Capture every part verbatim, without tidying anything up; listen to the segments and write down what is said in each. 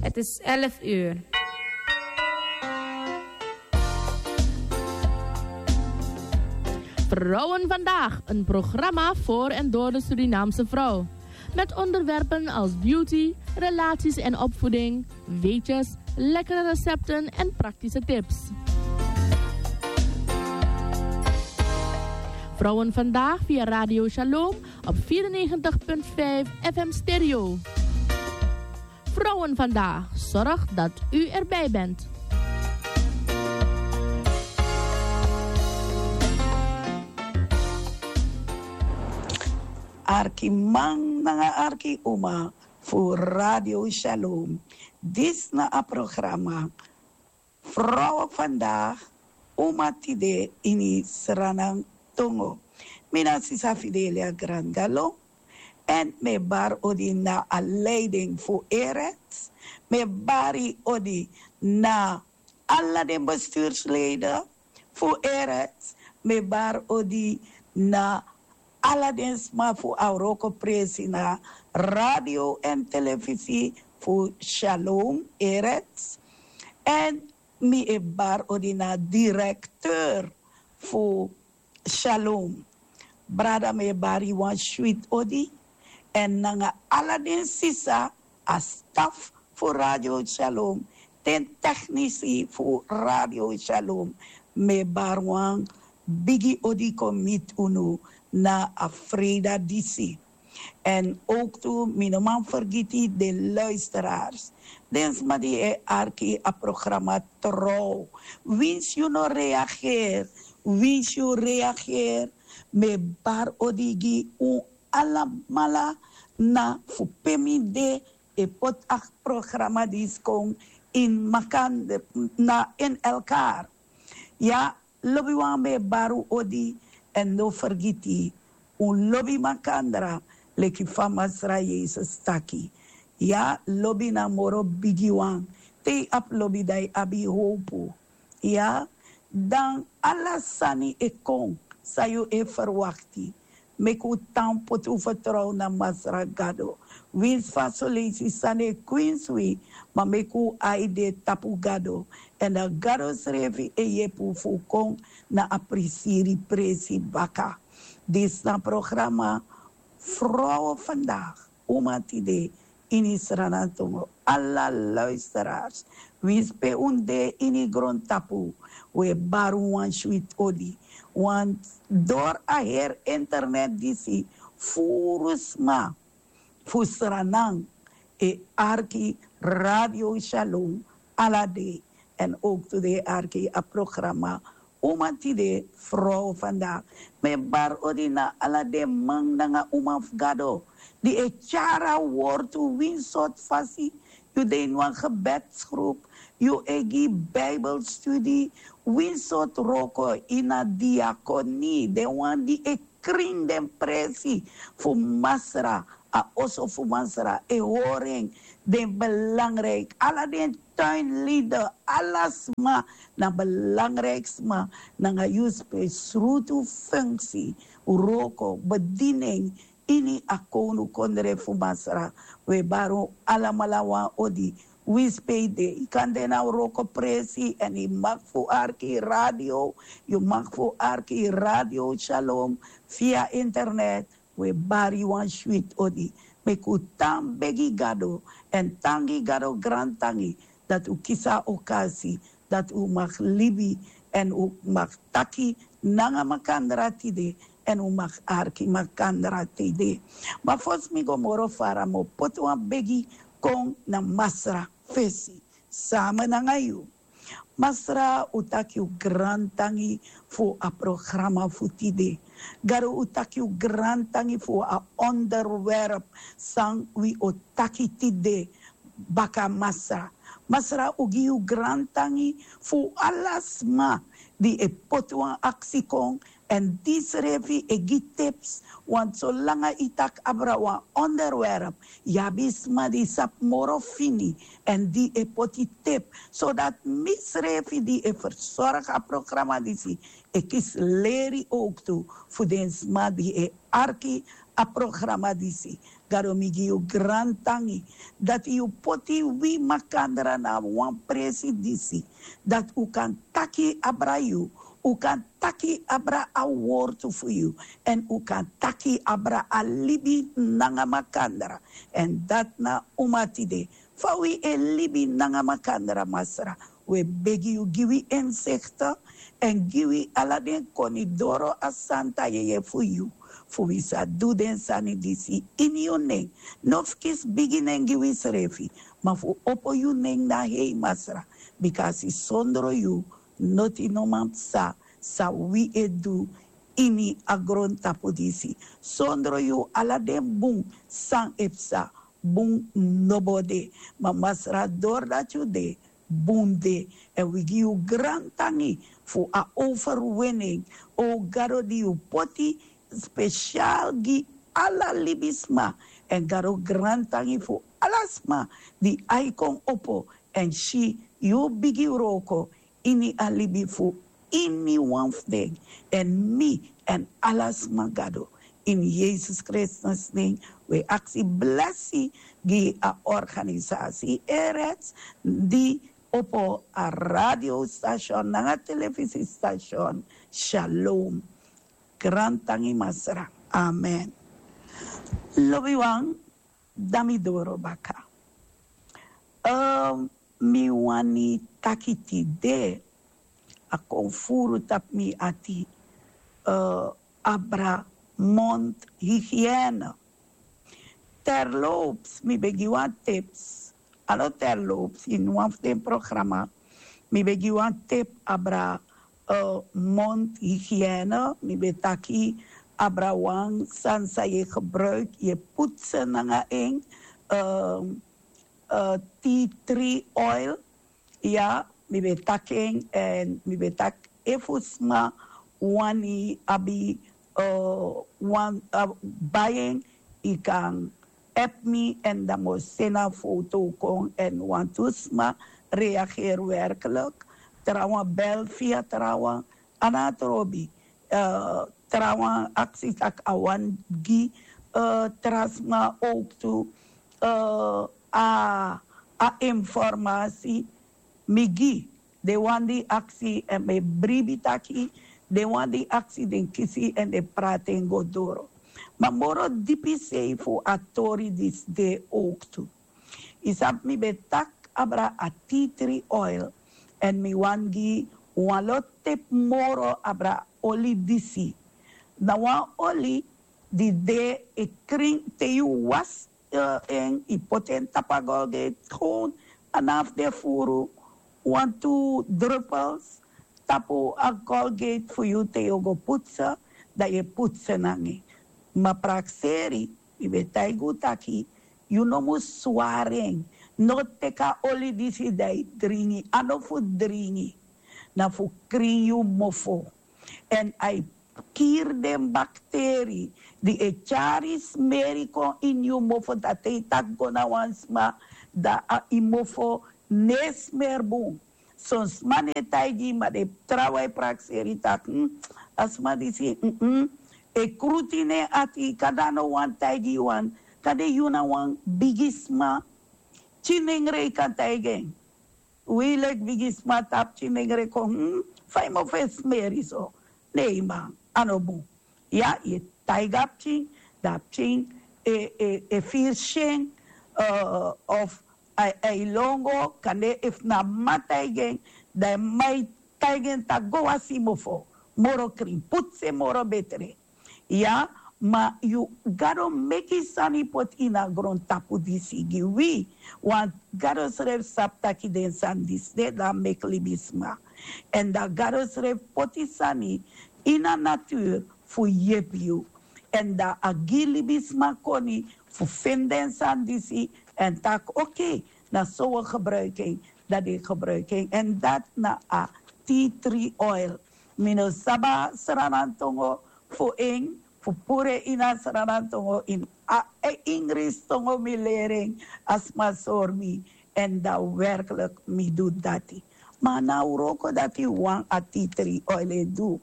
Het is elf uur. Vrouwen Vandaag, een programma voor en door de Surinaamse vrouw. Met onderwerpen als beauty, relaties en opvoeding, weetjes, lekkere recepten en praktische tips. Vrouwen Vandaag via Radio Shalom op vierennegentig punt vijf F M Stereo. Vrouwen Vandaag, zorg dat u erbij bent. Arki man nanga arki uma fu Radio Shalom. Dis na a programa Vrouwen Vandaag, uma tide ini Sranan Tongo. Mi na sisa Fidelia Grandalo. En mi e bari odi na a leiding fu Erets. Mi e bari odi na ala den bestuursleden fu Erets. Mi e bari odi na ala den sma fu a wrokopresi na radio en telefisi fu Shalom Erets. En mi e bari odi na directeur fu Shalom. Brada, mi e bari wan switi odi. En nanga ala den sisa, a staf fu Radio Shalom, den teknisi fu Radio Shalom, mi e bari wan bigi odi kon miti unu na a freida disi. En ook tu, mi no man fergiti den luisteraars. Den sma di e arki a programa trouw. Winsi yu no reageer, winsi yu reageer, mi e bari odi gi un alamala na fu pe mi de e poti a programa disi kon in makan na in elkaar. Ya, lobiwan, mi e bari un odi, en no fergiti, un lobi makandra leki fa Masra Yesus taki. Ya, lobi na moro bigi wan. Te yu abi lobi, dan yu abi howpu. Ya, dan ala sani e kon san yu e ferwakti. Meki un tan poti un fertrow na Masra Gado. Winsi fa soleisi sani e kwinsi wi, ma meki un ai de tapu Gado. En dan Gado srefi e yepi un fu un kon na a prisiri presi baka. Disi na programa Vrouwen Vandaag, uma tide, ini Sranan Tongo. Ala luisteraars, winsi pe un de ini grontapu, wi e bari un wan switi odi. Want door a heri internet disi, furu sma fu Sranan e arki Radio Shalom ala dei. En ook tu den e arki a programa Uma Tide, Vrouw Vandaag. Mi e bari odi na ala den man nanga uma fu Gado di e tyari a wortu, winsi sortu fasi yu de ini wan gebedsgroep, yu e gi Bijbelstudie, winsi sortu wroko, ini a diakonie, den wan di e krin den presi fu Masra, a oso fu Masra, e hori en. Den belangrijk, ala den tuinlieden, ala sma na belangrijk sma nanga yu spesrutu functie, wroko, bediening ini a kownukondre fu Masra. Wi e bari un alamala wan odi. Winsi pe yu de, yu kan de na wrokopresi en yu mag fu arki radio, yu mag fu arki Radio Shalom via internet. Wi e bari yu wan switi odi. Meki un tan begi Gado en tan gi Gado grantangi dati un kisi a okasi dati un mag libi en un mag taki nanga makandra tide, en un mag arki makandra tide. Ma fosi mi go moro fara, mi o poti wan begi kon na Masra fesi, samen nanga yu. Masra, un taki un grantangi fu a programa fu tide. Gado, un taki un grantangi fu a onderwerp san wi o taki tide. Baka Masra, Masra, un gi yu grantangi fu ala sma di e poti wan aksi kon, en di srefi e gi tips, want solanga yu taki abra wan onderwerp, yu abi sma di sabi moro fini, en di e poti tip, zodat mi srefi di e verzorg a programa disi e kisi leri ook tu fu den sma di e arki a programa disi. Gado, mi gi yu grantangi dati yu poti wi makandra na wan presi disi, dati un kan taki abra yu, un kan taki abra a wortu fu yu, èn un kan taki abra a libi nanga makandra. Èn dati na un mati de. Fa wi e libi nanga makandra, Masra, wi e begi yu gi wi insekte èn gi wi ala den koni doro a santa yeye fu yu, fu wi sa du den sani disi ini yu nen. No fu kisi bigi nen gi wi srefi, ma fu opo yu nen na hei, Masra, bika a si sondro yu noti no man psa san wi e du ini a grontapu disi. Sondro yu ala den bun san e psa, bun no bo de. Ma Masra, dori dati yu de, bun de. Èn wi gi yu grantangi fu a overwinning, o Gado, di yu poti spesial gi ala libisma. Èn Gado, grantangi fu ala sma di ai kon opo èn si yu bigi wroko ini a libi fu ini wan fu den, èn mi èn ala sma, Gado. Ini Yesus Kristus nen wi e aksi blesi gi a organisasi Erets di opo a radiostasion nanga telefisistation. Shalom. Grantangi, Masra. Amen. Lobiwan, dan mi doro baka. Ehm, mi wani taki tide, a kon furu tapu mi ati, eh, abra mondhygiëne. Terloops, mi ben gi wan tips. A no terloops, ini wan fu den programa mi ben gi wan tip abra, eh, mondhygiëne. Mi ben taki abra wan sani san yu e gebruik, yu e putse nanga en, eh, eh, tea tree oil. Ya, mi ben taki en, èn mi ben taki efu sma wani abi, eh, wan, eh, bai en, yu kan app mi èn dan mi o seni a foto kon. Èn wantu sma reageri werkelijk. Trawan bel via trawan, a no trobi. Eh, trawan aksi taki a wani gi, eh, tra sma ook tu, eh, a, a informasi mi gi. Den wan di aksi, èn mi e bribi taki den wan di aksi, den kisi èn den prati en go doro. Ma moro dipi sei fu a tori disi de ook tu. Yu sabi, mi ben taki abra a tea tree oil, èn mi wani gi wan lo tip moro abra oli disi. Na wan oli di de e krin te yu wasi, eh, en, yu poti en tapu a Colgate, gewoon a no abi fu de furu wantu druppels tapu a Colgate fu yu te yu o go putse, dan yu e putse nanga en. Ma prakseri, mi ben taigi un taki yu no mus swari en. No teki a oli disi dan yu dringi. A no fu dringi. Na fu krin yu mofo. Èn a e kiri den bakteri di e tyari smeri kon ini yu mofo, dati e taki go na wan sma, dan a yu mofo no e smeri bun. Son sma no e taigi yu, ma den trawan e prakseri taki, hmm, a sma disi, hmm, hmm, e krutu ini en ati, kande a no wani taigi yu wan, kande yu na wan bigi sma, tyinengre yu kan taigi en. Wi leki bigi sma tapu tyinengre kon, hmm, fa yu mofo e smeri so. Nei man, a no bun. Ya, yu e taigi a pikin, dan a pikin e, e, e firi syen, eh, of a, a e lon go, kande efu na mama taigi en, dan a mama e taigi en taki go wasi yu mofo moro krin, putse moro betre. Ya, ma yu, Gado meki sani poti ini a grontapu disi gi wi. Want Gado srefi sabi taki den sani disi de, dan a meki libisma. Èn dan Gado srefi poti sani ini a natuur fu yepi yu. Èn dan a gi libisma koni fu feni den sani disi èn taki, oké, na so wi gebruik en, dan den gebruik en. Èn dati na a tea tree oil. Mi no sabi a Sranan tongo fu en, fu puru en ini a Sranan tongo, ini a, eh, Ingrisi tongo mi leri en, a sma sori mi, èn dan werkelijk mi du dati. Ma a no a wroko dati wan a tea tree oil e du.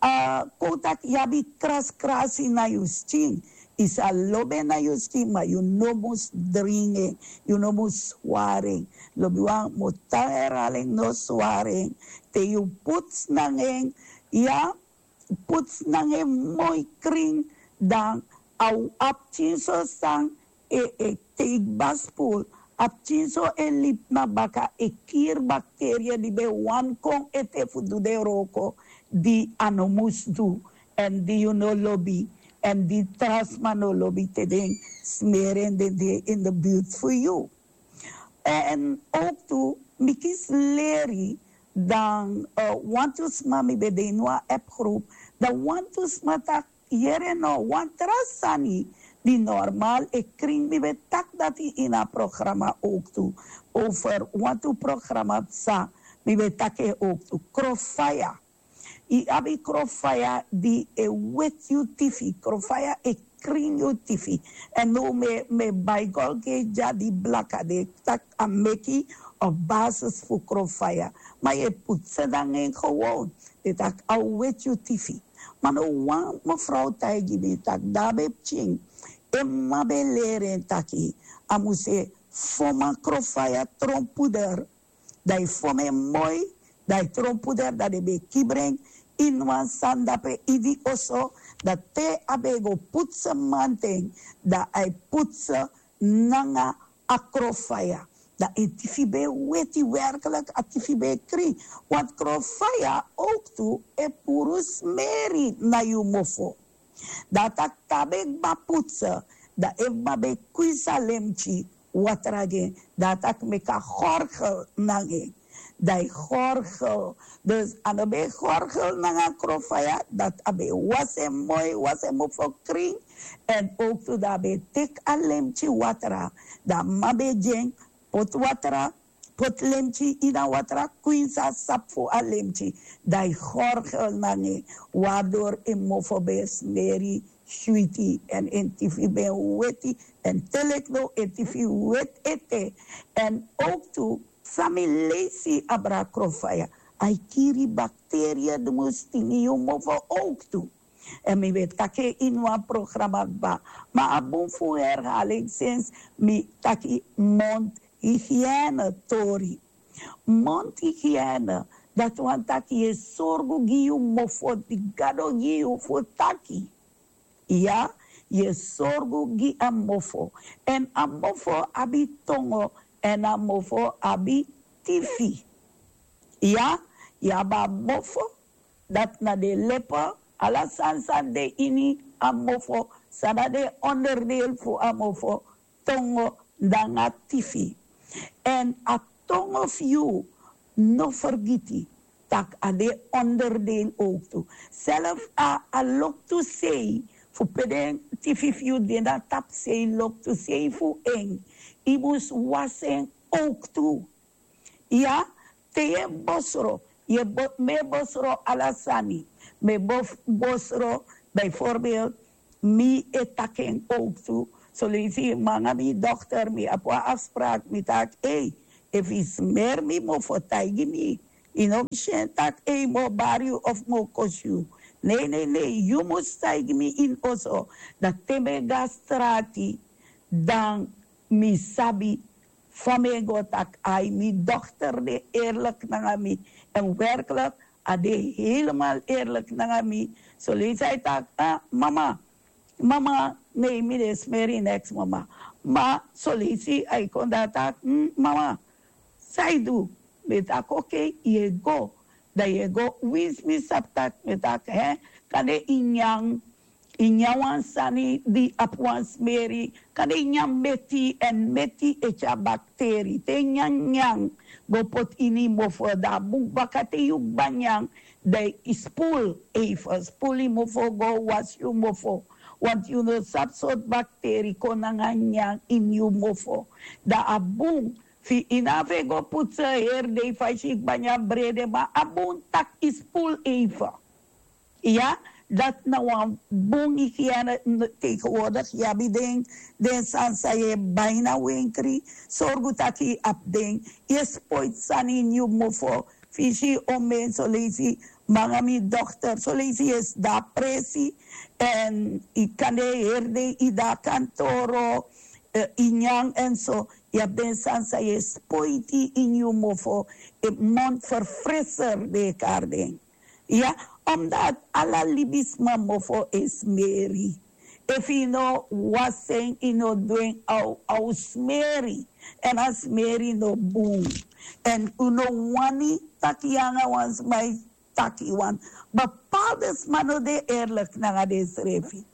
A kon taki yu abi kraskrasi na yu skin, Yu sa lobi en na yu skin, ma yu no mus dringi en, yu no mus swari en. Lobiwan, mi o tan herhaling, no swari en. Te yu puts nanga en, ya, puts nanga en moi krin, dan a o abi pikinso san e e teigi baspul, a pikinso e libi na baka, e kiri bakteria di ben wani kon ete fu du den wroko di a no mus du, èn di yu no lobi, èn di tra sma no lobi te den smeri en, den de in de buurt fu yu. Èn ook tu, mi kisi leri, dan wantu sma, mi ben de ini wan appgroep, dan wantu sma taki, yere no, wan tra sani di normal e krin, mi ben taki dati ini a programa ook tu, over wantu programa psa, mi ben taki en ook tu, krofaya. Yu abi krofaya di e weti yu tifi, krofaya e krin yu tifi. Èn now mi e, mi e bai golgeti dya di blaka, den e taki a meki of basis fu krofaya. Ma yu e putse nanga en gewoon, den taki a o weti yu tifi. Ma now wan mefrow taigi mi taki, di a ben pikin, en m'ma ben leri en taki a mus e fon a krofaya tron puder. Dan yu fon en moi, dan yu tron puder, dan den ben e kibri en ini wan sani dape ini oso, dan te a ben e go putse mamanten, dan a e putse nanga a krofaya. Dan en tifi ben e weti, werkelijk a tifi ben e krin. Want krofaya ook tu e puru smeri na yu mofo. Dan a taki te a ben kba putse, dan efu m'ma ben kwinsi a lemtyi watra gi en, dan a taki meki a gorgel nanga en. Dan yu gorgel. Dus a no ben e gorgel nanga krofaya, dati a ben e wasi en moi, wasi en mofo krin. Èn ook tu dan a ben e teki a lemtyi watra, dan m'ma ben e gi en, poti watra, poti lemtyi ini a watra, kwinsi a sapu fu a lemtyi, dan yu gorgel nanga en, waardoor en mofo ben e smeri switi èn en tifi ben e weti. Èn te leki now en tifi weti ete. Èn ook tu, san mi leisi abra krofaya, a e kiri bakteria di mus tingi yu mofo ook tu. Èn mi ben taki en ini wan programa kba, ma a bun fu herhaling, sinsi mi taki mondhygiëne tori. Mondhygiëne, dati wani taki yu e sorgu gi yu mofo di Gado gi yu fu taki. Ya, yu e sorgu gi a mofo. Èn a mofo abi tongo, èn a mofo abi tifi. Ya, yu abi a mofo, dati na den lepe, ala sani san de ini a mofo, san na den onderdeel fu a mofo, tongo nanga tifi. Èn a tongo fu yu, no fergiti tak' a de onderdeel ook tu. Self a, a loktu sei fu pe den tifi fu yu de na tapu sei, loktu sei fu en, yu mus wasi en ook tu. Ya, te yu e bosro, yu e bo-, mi e bosro ala sani. Mi e bo-, bosro, bijvoorbeeld, mi e taki en ook tu. Soleisi mi nanga mi dochter, mi abi wan afspraak, mi taki, ei, efu yu smeri mi mofo, taigi mi. Yu no mus si en tak' ei, mi o bari yu of mi o kosi yu. Nei, nei, nei, yu mus taigi mi ini oso. Dan te mi e go na strati, dan mi sabi fa mi e go, tak' ai, mi dochter de eerlijk nanga mi. Èn werkelijk, a de helemaal eerlijk nanga mi. Soleisi a e taki, ah, mama, mama, nei, mi no e smeri neks, mama. Ma soleisi a e kon dan a taki, hmm, mama, san yu du? Mi e taki, oké, yu e go. Dan yu e go, winsi mi sabi tak' mi e taki, hè, kande yu nyan, yu nyan wan sani di abi wan smeri, kande yu nyan meti, èn meti e tyari bakteri. Te yu nyan nyan go poti ini yu mofo, dan a bun baka te yu kba nyan, dan yu spoel even, spoel yu mofo, go wasi yu mofo. Want yu no sabi sortu bakteri kon nanga nyan ini yu mofo. Dan a bun, fu yu no abi fu go putse heri dei, fa yu si yu kba nyan brede, ma a bun tak' yu spoel even. Ya, dati na wan bun hygiëne. Tegenwoordig yu abi den, den sani san yu e bai na wenkri, sorgu tak' yu abi den. Yu e spoiti sani ini yu mofo, fu yu si yu omen, soleisi Manga mi dokter solisi yu e sidon a presi, èn yu kande e heri den yu de na kantoro, yu nyan èn so. Yu abi den sani san yu e spoiti ini yu mofo. Mondverfrisser den e kari den. Ya, omdat ala libisma mofo e smeri. Efu yu no wasi en, yu no du en, a o smeri. Èn a smeri no bun. Èn un no wani taki yu nanga wan sma e taki wan. Bepaalde sma no de eerlijk nanga densrefi.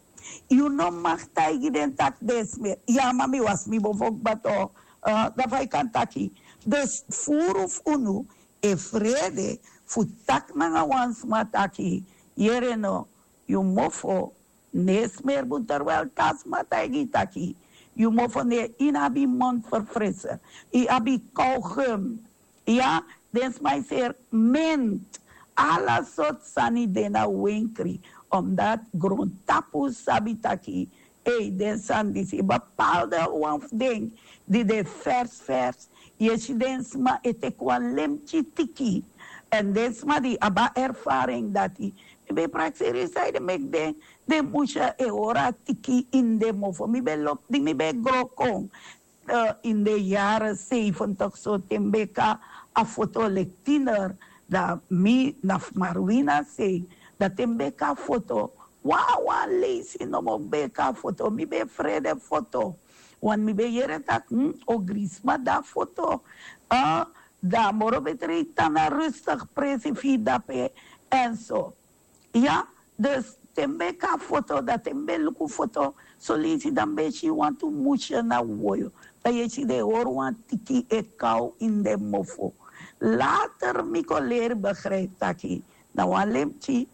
Yu no mag taigi den taki den smeri. Ya, ma mi wasi mi mofo kba. Dan fa yu kan taki? Dus furu fu unu e frede fu taki nanga wan sma taki: yere no, yu mofo no e smeri bun, terwijl te a sma taigi yu taki yu mofo no e, yu no abi mondverfrisser, yu abi kauwgum. Ya, den sma e seri mint. Ala sortu sani de na wenkri, omdat grontapu sabi taki ei, den sani disi, bepaalde wan fu den di de vers vers, yu e si den sma e teki wan lemtyi tiki. Èn den sma di abi a ervaring dati, mi ben prakseri yu saide meki den, den musha e hori a tiki ini den mofo. Mi ben lobi di mi ben gro kon, ini den yare seifentik so, te mi ben kon a foto leki tiner, dan mi na fu marwina sei. Dan te mi ben kon a foto, wawan leisi nomo mi ben kon a foto, mi ben frede foto. Want mi ben yere taki ogrisma de a foto. Dan a moro betre yu tan na rustig presi fu yu dape, èn so. Ya, dus te mi ben kon a foto, dan te mi ben luku foto, soleisi dan mi ben si wantu musha na woyo. Dan yu e si den e hori wan tiki e kaw ini den mofo. Later mi kon leri begrijpi taki na wan lemtyi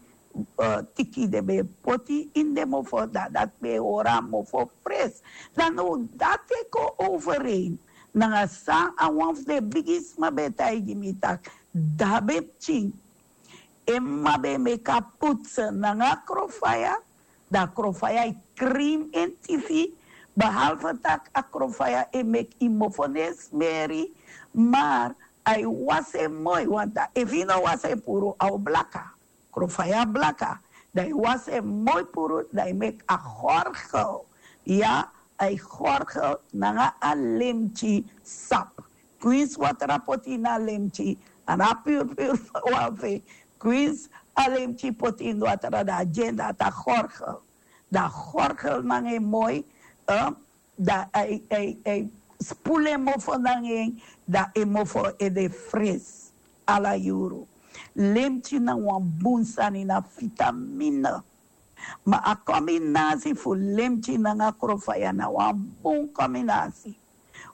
tiki den ben poti ini den mofo, dan dati ben e hori a mofo fres. Dan now dati e kon overeen nanga san a wan fu den bigisma ben taigi mi taki, dabe pikin, en mama ben e meki a putse nanga a krofaya. Dan a krofaya e krin en tisi. Behalve tak' a krofaya e meki yu mofo no e smeri, mar a e wasi en moi, want efu yu no wasi en puru a o blaka. Krofaya blaka. Dan yu wasi en moi puru, dan yu meki a gorgel. Ya, a e gorgel nanga a lemtyi sap. Kwinsi watra poti ini a lemtyi, a no a purpur wan fu en. Kwinsi a lemtyi poti ini watra, dan a gi en dati a gorgel. Dan a gorgel nanga en moi, dan a e spulu en mofo nanga en, dan en mofo e de fres ala yuru. Lemtyi na wan bun sani, na vitamine. Ma a kombinasi fu lemtyi nanga krofaya na wan bun kombinasi.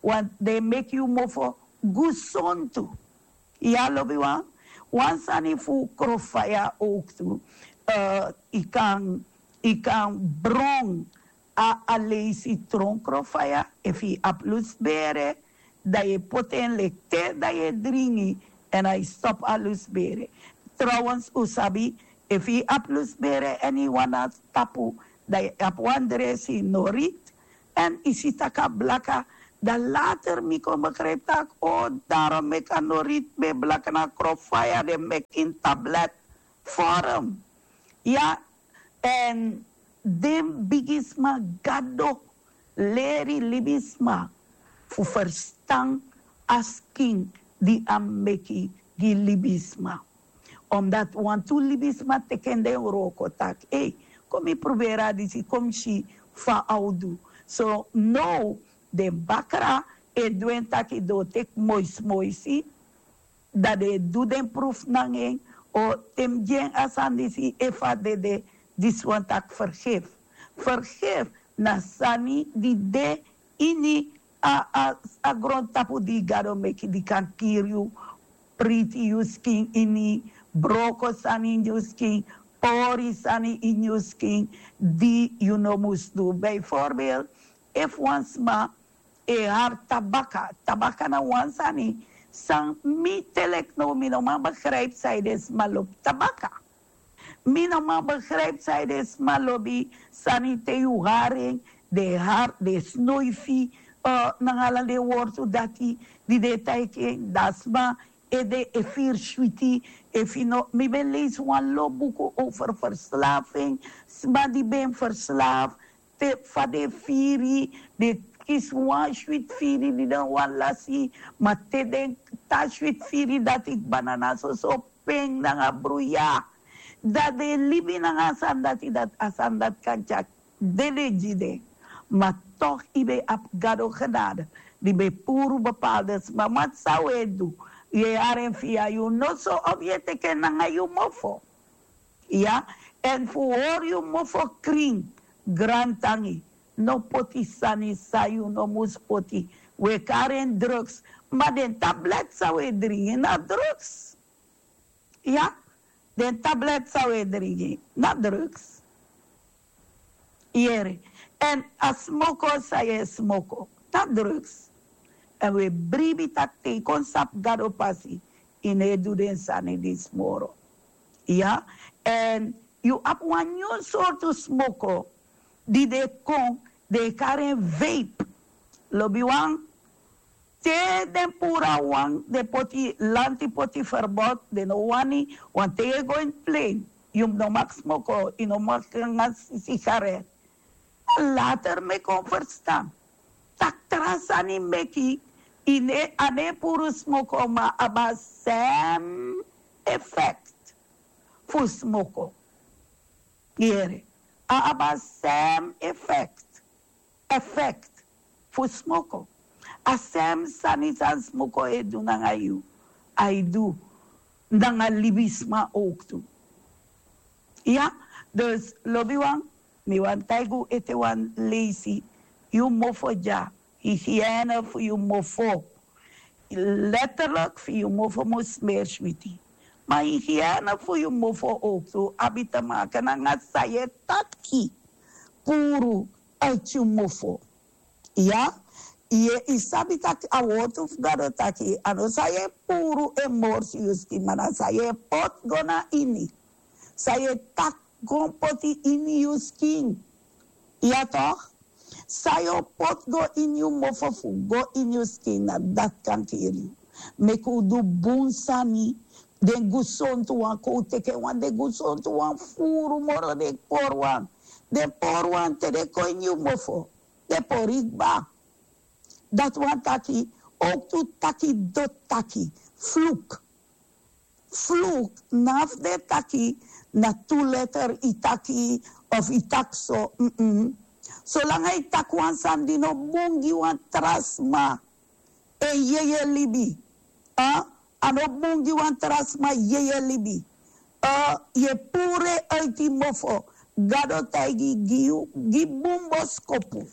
Want den e meki yu mofo gusontu. Ya, lobiwan, wan sani fu krofaya owktu. Yu kan, yu kan bron a, a leisi tron krofaya, efu yu abi lusbere, dan yu e poti en leki te, dan yu e dringi, èn a e stop a lusbere. Trouwens un sabi, efu yu abi lusbere èn yu wani na tapu, dan yu abi wan dresi norit, èn yu si tak' a blaka. Dan later mi kon begrijpi tak' o, darom meki a norit ben blaka, na krofaya den meki ini tablet vorm. Ya, èn den bigisma, Gado leri libisma fu ferstan a skin di a meki gi libisma. Omdat wantu libisma teki en den wroko taki: ei, kon mi pruberi a disi, kon mi si fa a o du. So now den bakra e du en taki den o teki moisimoisi, dan den e du den prufu nanga en. O, te mi gi en a sani disi, efu a dede, disi wani taki fergefi. Fergefi na sani di de ini a, a, a grontapu di Gado meki, di kan kiri yu, priti yu skin ini, broko sani ini yu skin, pori sani ini yu skin, di yu no mus du. Bijvoorbeeld, efu wan sma e hari tabaka. Tabaka na wan sani san mi te leki now mi no man begrijpi sanede sma lobi tabaka. Mi no man begrijpi sanede sma lobi sani te yu hari en, den e hari, den e snoifi, nanga ala den wortu dati di den e taigi en, dan a sma ede e firi switi. Efu yu no, mi ben leisi wan lo buku over verslaving. Sma di ben verslaaf, te fa den firi, den kisi wan switi firi di den wani lasi. Ma te den tan switi firi dati kba na na soso pen nanga bruya. Dan den libi nanga a sani dati, dati a sani dati kan tyari dede gi den. Ma toch yu ben abi Gado genade di ben puru bepaalde sma. Ma san wi e du? Yu e hari en via yu noso of yu e teki en nanga yu mofo. Ya. Èn fu hori yu mofo krin, grantangi, no poti sani san yu no mus poti. Wi e kari en drugs. Ma den tablet san wi e dringi na drugs. Ya. Den tablet san wi e dringi na drugs. Yere. Èn a smoko san yu e smoko na drugs. Èn wi e bribi taki te yu kon sabi Gado pasi, yu no e du den sani disi moro. Ya. Èn yu abi wan nyun sortu smoko di den kon, den e kari en vape. Lobiwan, te den puru a wan, den poti lanti, poti verbod, den no wani. Wan te yu e go ini plein, yu no mag smoko, yu no mag nanga sigaret. Later mi kon ferstan tak' tra sani meki yu no e, a no e puru smoko, ma a abi a sem effect fu smoko. Yere, a abi a sem effect, effect fu smoko. A sem sani san smoko e du nanga yu, a e du nanga libisma ook tu. Ya. Dus lobiwan, mi wani taigi un ete wan leisi. Yu mofo dya, hygiène fu yu mofo. Letterlijk fu yu mofo mus smeri switi. Ma hygiène fu yu mofo ook tu abi te maken nanga san yu e taki puru uit yu mofo. Ya. Yu e, yu sabi taki a wortu fu Gado taki a no san yu e puru e morsi yu skin, ma na san yu e poti go na ini. San yu e taki kon poti ini yu skin. Ya toch? San yu o poti go ini yu mofo fu go ini yu skin, na dati kan kiri yu. Meki un du bun sani. Den gesontu wan, kon un teki en wan, den gesontu wan furu moro den pori wan. Den pori wan te den kon ini yu mofo, den pori kba. Dati wani taki, ook tu taki doti taki, vloek. Vloek, na fu den taki na tu letter yu taki, of yu taki so. Solanga yu taki wan sani di no bun gi wan tra sma, en yeye libi. A no bun gi wan tra sma yeye libi. Yu e puru en uiti mofo. Gado taigi gi yu, gi bun boskopu.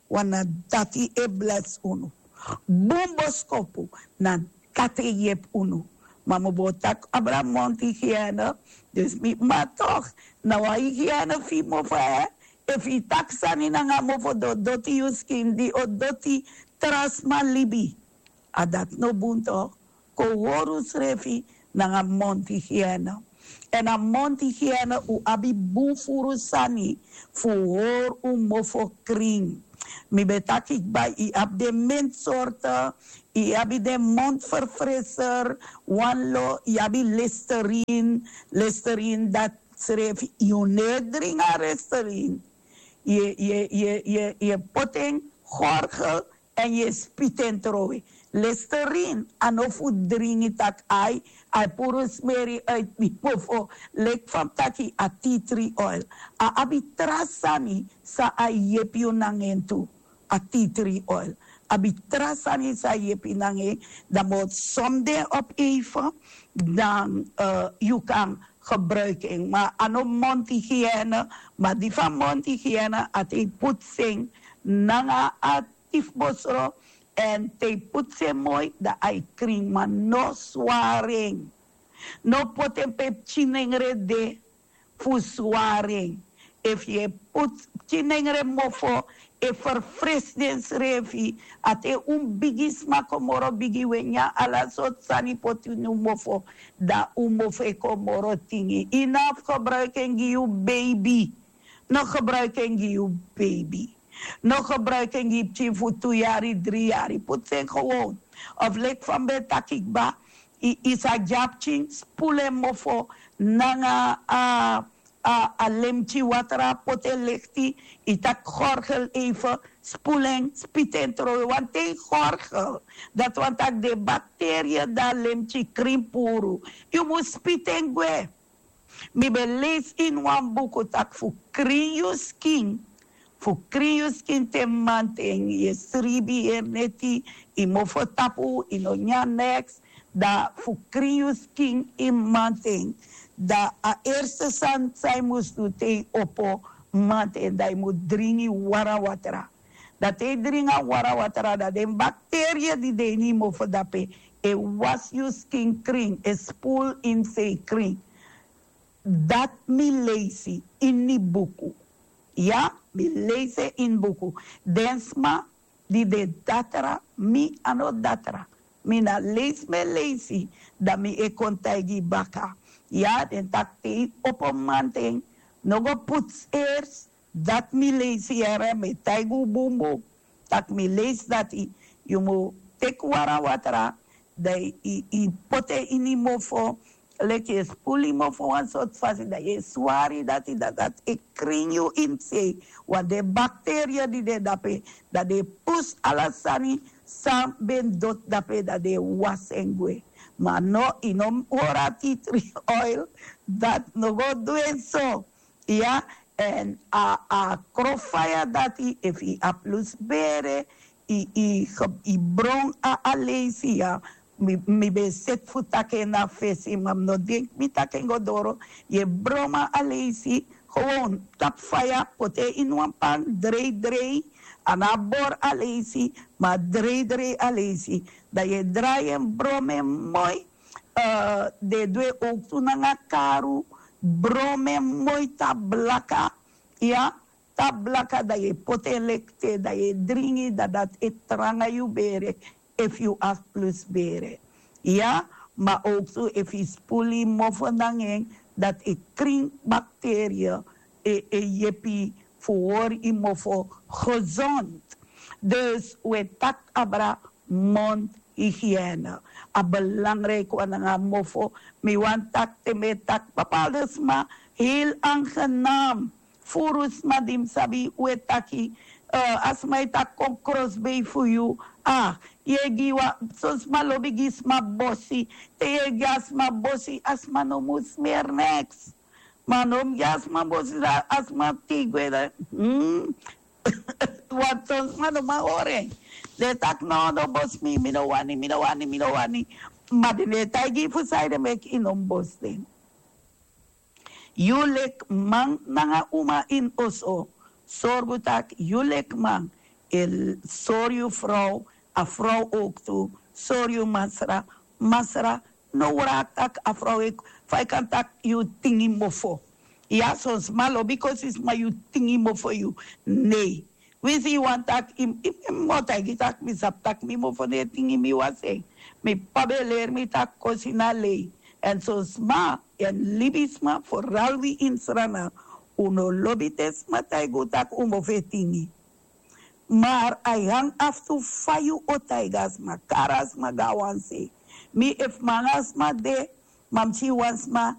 Want na dati e blesi unu. Bun boskopu, na dati e yepi unu. Ma mi bo taki abra monti gi en. Dus mi, ma toch, na wan hygiène fu yu mofo, hè. Efu yu taki sani nanga mofo, di o doti yu skin, di o doti tra sma libi. A dati no bun toch? Kon hori unsrefi nanga monti gi en. Èn a monti gi en, un abi bun furu sani fu hori un mofo krin. Mi ben taki kba, yu abi den menti sorte, yu abi den mondverfrisser, wan lo, yu abi Listerine. Listerine dati srefi yu no e dringi a Listerine. Yu e, yu e, yu e, yu e, yu e poti en, gorgel, èn yu e spiti en trowe. Listerine a no fu dringi taki ai, a e puru smeri uit mi mofo. Leki fa mi taki a tea tree oil. A abi tra sani san a e yepi yu nanga en tu. A tea tree oil abi tra sani san a e yepi yu nanga en. Dan mi o som den op even, dan yu kan gebruiki en. Ma a no monti gi en. Ma di fu a monti gi en, a te yu putsi en nanga a tifbosro, èn te yu putsi en moi, dan a e krin, ma no swari en. No poti en pe pikin nengre de fu swari en. Efu yu e putsi pikin nengre mofo, e ferfresi densrefi. A te un bigisma kon moro bigi, un e nyan ala sortu sani poti ini un mofo, dan un mofo e kon moro tingi. Yu no abi gebruiki en gi yu beibi. No gebruiki en gi yu beibi. No gebruiki en gi yu pikin fu tu yari, dri yari. Putsi en gewoon. Of leki fa mi ben taki kba, I, i sa dyapu pikin, spulu en mofo nanga a, a, a lemtyi watra, poti en lekti, i taki gorgel eife, spulu en, spiti en trowe. Wanten i gorgel, dati wani taki den bakteria di a lemtyi krin puru, yu mus spiti en gwe. Mi ben leisi ini wan buku taki fu krin yu skin, fu krin yu skin te manten yu e sribi, yu e neti, yu mofo tapu, yu no nyan neks, dan fu krin yu skin ini manten, dan a erste sani san yu mus du te yu opo manten, dan yu mus dringi wara watra. Dan te yu dringi a wara watra, dan den bakteria di de ini yu mofo dape e wasi yu skin krin, e spul ini sei krin. Dati mi leisi ini buku. Ya, mi leisi en ini buku. Den sma di de datra, mi a no datra. Mi na leisi mi e leisi, dan mi e kon taigi baka. Ya, den taki te yu opo manten, no go putu sers. Dati mi leisi yere, mi e taigi un bunbun. Tak' mi leisi dati, yu mu teki wara watra, dan yu, yu poti en ini yu mofo, leki yu e spulu yu mofo wan sortu fasi, dan yu e swari dati, dan dati e krin yu ini sei. Wan den bakteria di de dape, dan den e pusu ala sani san ben doti dape, dan den e wasi en gwe. Ma no, yu no hori a tea tree oil, dati no go du en so. Ya, èn a, a kron faya dati, efu yu abi lusu bere, yu, yu, yu bron a aleisi ya. Mi, mi ben seti fu taki en na fesi, ma mi no denki mi taki en go doro. Yu e bron a aleisi, gewoon tapu faya, poti en ini wan pan, drei drei, a no abi bori aleisi, ma drei drei aleisi. Dan yu e drai en, bron en moi. Eh, den e du en owktu nanga karu, bron en moi tapu blaka, ya, tapu blaka, dan yu e poti en leki te, dan yu e dringi, dan dati e tranga yu bere, efu yu abi lusu bere. Ya, ma owktu efu yu spulu yu mofo nanga en, dati e krin bakteria, e, e yepi fu hori yu mofo gezond. Dus un e taki abra mondhygiëne. A belangrijk wan nanga mofo. Mi wani taki te mi e taki bepaalde sma, heel aangenaam. Furu sma di mi sabi, un e taki, eh, a sma e taki kon krosbei fu yu. Ah, yu e gi wan, son sma lobi gi sma bosi. Te yu e gi a sma bosi, a sma no mus meri neks. Ma no mus gi a sma bosi, dan a sma tei gwe dan. Hmm. Wan ton sma no man hori en. Den e taki no, no bosi mi, mi no wani, mi no wani, mi no wani. Ma den no e taigi yu fu sanede meki yu no mus bosi den. Yu leki man nanga uma ini oso, sorgu tak' yu leki man e sori yu frow, a frow owktu sori yu masra. Masra no wraki tak' a frow e, fa yu kan taki yu tingi mofo. Ya, son sma lobi kosi sma yu tingi mofo yu. Nei. Winsi yu wani taki, yu, yu, yu mu taigi tak' mi sabi tak' mi mofo no e tingi, mi wasi en. Mi p'pa ben leri mi tak' kosi na lei. Èn son sma, èn libisma, foral wi ini Sranan, un no lobi te sma taigi un tak' un mofo e tingi. Maar a e hang af tu fa yu o taigi a sma, kari a sma go na wan sei. Mi, efu mi nanga sma de, ma mi si wan sma